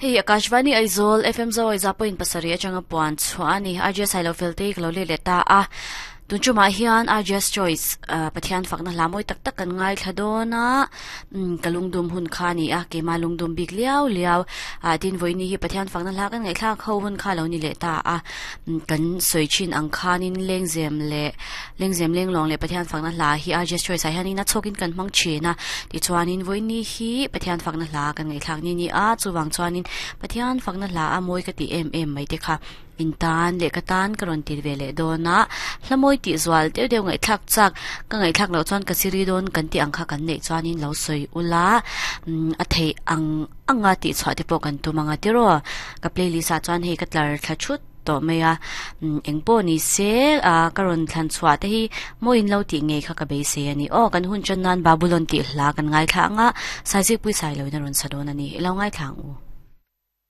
Hei Akashvani Aizawl FM Zawi za point pasarih atanga puan chhuah a ni. RJS Hailo Felte ka lo let leh ta a. Tun chumah hian RJS Choice Pathian fakna hla mawi tak tak kan ngaithla dawn a. Ka lungdum hun kha a ni a, keimah lungdum bik liau liau. Tin vawiini hi Pathian fakna hla kan ngaihthlak ho hun kha a lo ni leh ta a. Kan sawi thin ang khanin lengzem leh lengzem lenglawng leh Pathian fakna hla hi RJS Choice ah hianin a chhawkin kan hmang thin a. Tichuanin vawiini hi Pathian fakna hla kan ngaihthlak ni ni a, chuvang chuanin Pathian fakna hla a mawi ka tih em em mai te kha in tan leh ka tan ka rawn ti ve leh dawn a, hla mawi tih zual deuh deuh ngaihthlak chak ka ngaihthlak loh chuan ka siri dawn kan tih ang kha kan neih chuanin lo sawi ula a theih ang anga tih chhuah te pawh kan tum anga tiraw ka playlist ah chuan hei ka tlar thla thut tawh mai a eng pawh ni se ah ka rawn thlan chhuah te hi maw in lo tih ngei kha ka beisei a ni aw kan hun tan nan Babulon tih hla kan ngaithla anga Saizikpui Sailoin a rawn sa dawn a ni i lo ngaithla ang u.